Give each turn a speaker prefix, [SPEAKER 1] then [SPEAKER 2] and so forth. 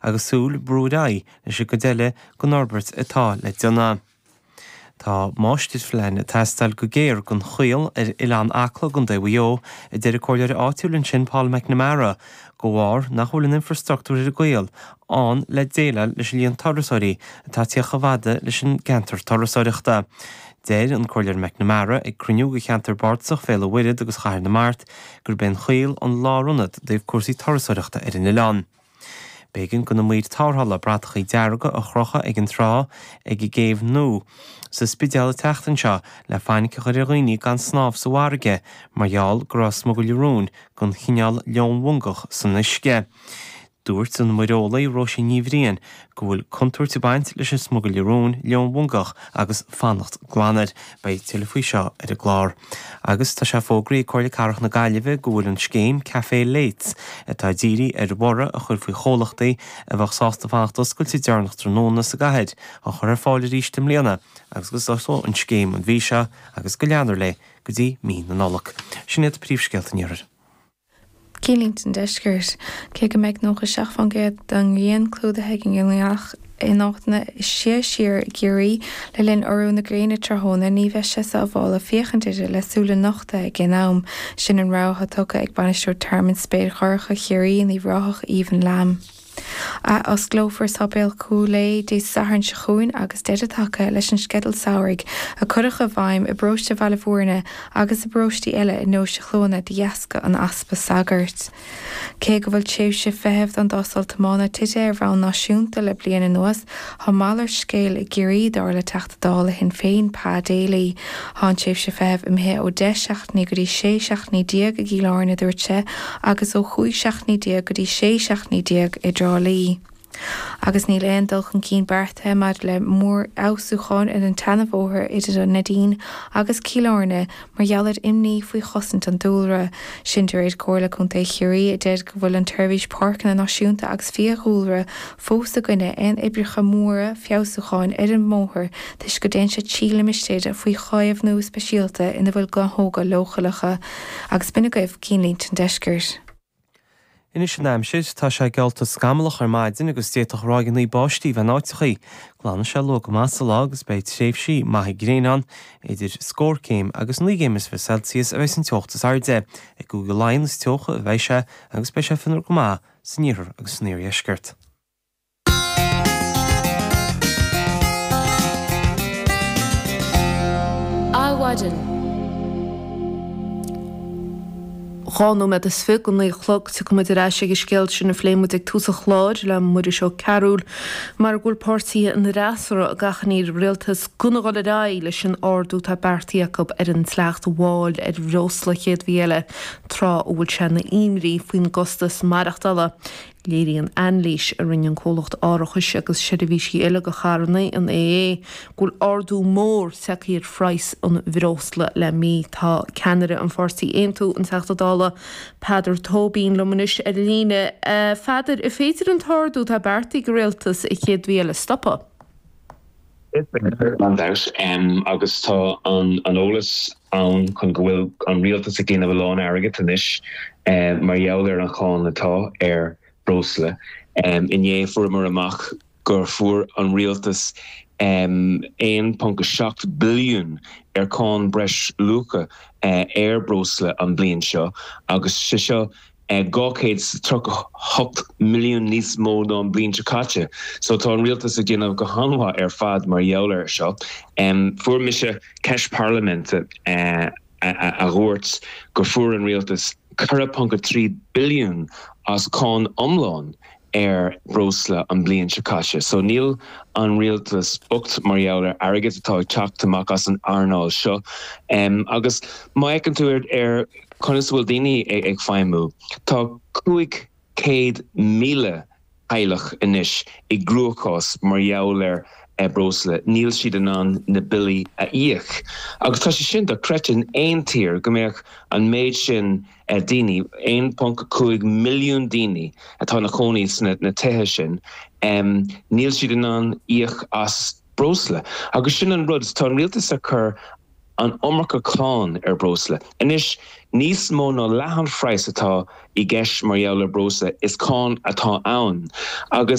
[SPEAKER 1] agus súil ag brú ar aghaidh leis an gcuid eile den fhorbairt atá le déanamh. Tá máistirphlean ag teastáil go géar don Choill ar Oileán Acla i gContae Mhaigh Eo, a deir an comhairleoir áitiúil ansin Paul McNamara, de bharr nach bhfuil an infreastruchtúr ar an gcoill ann le déileáil leis an líon turasóirí atá ag tíocht chomh fada leis an gceantar turasóireachta. Deir an Comhairleoir McNamara ag cruinniú de cheantar bardasach Bhéal an Mhuirthead agus Chathair na Mart gurb é an Choill an lárionad i dtaobh cúrsaí turasóireachta ar an oileán. B'éigean do na maoir tarrthála bratachaí dearga a chrochadh ag an trá ag an gCéibh Nua sa Spidéal an tseachtain seo le fainic a chur ar dhaoine gan snámh sa bhfarraige mar gheall go raibh smugairle róin den chineál leonmhangach san uisce. Dúirt an muireolaí Róisín Ní Bhriain go bhfuil contúirt ag baint leis an smugairle róin leonmhangach agus fanacht glan air. Beidh tuilleadh faoi seo ar an gclár. Agus tá sé fógraithe ag Comhairle Cathrach na Gaillimhe go bhfuil an scéim Café Lates, atá dírithe ar bhorradh a chur faoi chomhlachtaí a bheadh sásta fanacht oscailte deireanach tráthnóna sa gcathair, á chur ar fáil arís i mbliana agus go dtosóidh an scéim an mhí seo agus go leanfar léi go dtí mí na Nollag. Sin iad príomhscéalta an Iarthair.
[SPEAKER 2] Cinnlínte an Deiscirt. Cé go mbeidh 97% den ghrian clúdaithe ag an ngealach in áiteanna siar siar i gCiarraí le linn urú na gréine tráthnóna, ní bheidh sé sábhálta féachaint uirthi le súile nochta ag aon am. Sin an rabhadh atá tugtha ag Bainisteoir Tearmann Spéir Dhorcha Chiarraí in Uíbh Ráthach, Aoibheann Lamb. Athosclófar Sáipéal Chúil Aodha Dé Sathairn seo chugainn agus deireadh tagtha leis an sceideal samhraidh a cuireadh i bhfeidhm i bparóiste Bhaile Bhúirne agus i bparóistí eile i nDeoise Chluana de dheasca an easpa sagart. Cé go bhfuil tréimhse feithimh don dtástáil tiomána tite ar bhonn náisiúnta le bliain anuas, tá malairt scéil i gCiarraí, dar le Teachta Dála Shinn Féin, Pa Daly. Tá an tréimhse feithimh imithe ó 10 seachtainí go dtí 16 seachtainí i gCill Airne, a dúirt sé, agus ó 15 seachtainí go dtí 16 seachtainí i dTrá Lí. Agus níl aon dul chun cinn beartaithe maidir le mórfheabhsúcháin ar an tseanabhóthar idir an Neidín agus Cill Airne mar gheall ar imní faoi chosaint an dúlra. Sin de réir Comhairle Contae Chiarraí a deir go bhfuil an tSeirbhís Páirceanna Náisiúnta agus Fiadhúlra fós i gcoinne aon oibreacha móra feabhsúcháin ar an mbóthar toisc go dtéann sé trí limistéir faoi chaomhnú speisialta ina bhfuil gnáthóga leochaileacha. Agus b'in agaibh Cinnlínte an Deiscirt.
[SPEAKER 1] Anois an aimsir, tá sé geallta scamallach ar maidin agus d'fhéadfadh ráigeanna báistí bheith in áiteachaí. Glanfaidh sé luath go maith sa lá agus beidh tréimhsí maithe gréine ann. Idir scór céim agus 29 gcéim Celsius a bheidh an teocht is airde. I gCúige Laighean is teocha a bheidh sé agus beidh sé fionnuar go maith san iarthar agus san iardheisceart.
[SPEAKER 3] Adhmhaidin. 29 nóiméad go 9 a chlog. Tiocfaidh muid ar ais ag an scéal sin a phléigh muid ag tús an chláir le Muiris Ó Cearúil mar go bhfuil páirtithe an fhreasúra ag achainí ar an rialtas gan a dhul ar aghaidh leis an ardú atá beartaithe acu ar an dleacht mháil ar bhreosla an chéad mhí eile tráth a bhfuil sé ina imní faoin gcostas maireachtála. Léiríonn anailís a rinne an comhlacht árachais agus seirbhísí eile do charranna, an AA, go bhfuil ardú mór tagtha ar phraghas an bhreosla le mí. Tá ceannaire an pháirtí Aontú, an Teachta Dála Peadar Tóibín liom anois ar líne. A Pheadair, an féidir an t-ardú atá beartaithe ag an rialtas an chéad mhí eile a stopadh?
[SPEAKER 4] Is féidir, gan dabht, agus tá an eolas ann chun go bhfuil an rialtas ag déanamh a lán airgid anois mar gheall ar an cháin atá ar breosla. Inné fuaireamar amach gur fuair an rialtas 1.7 billiún ar cáin breis luacha ar breosla an bliain seo agus sé seo 238 milliún níos mó ná an bliain seo caite. So tá an rialtas ag déanamh go han-mhaith ar fad mar gheall air seo. Fuair mise ceist parlaiminte a dhúirt go fuair an rialtas 4.3 billiún as cáin iomlán ar breosla an bliain seo caite. So níl an rialtas bocht mar gheall ar airgead atá ag teacht amach as an earnáil seo. Agus má fheiceann tú ar conas a bhfuil daoine ag feidhmiú, tá 500,000 teaghlach anois i gcruachás mar gheall ar breosla, níl siad in ann na billí a íoc. Agus tá sé sin dochreidte in aon tír go mbeadh an méid sin daoine, 1.5 milliún daoine atá ina chónaí sna tithe sin, níl siad in ann íoc as breosla. Agus sin an rud, tá an rialtas ag cur an iomarca cáin ar breosla. Anois, níos mó ná leath an phraghas atá i gceist mar gheall ar breosla, is cáin atá ann. Agus.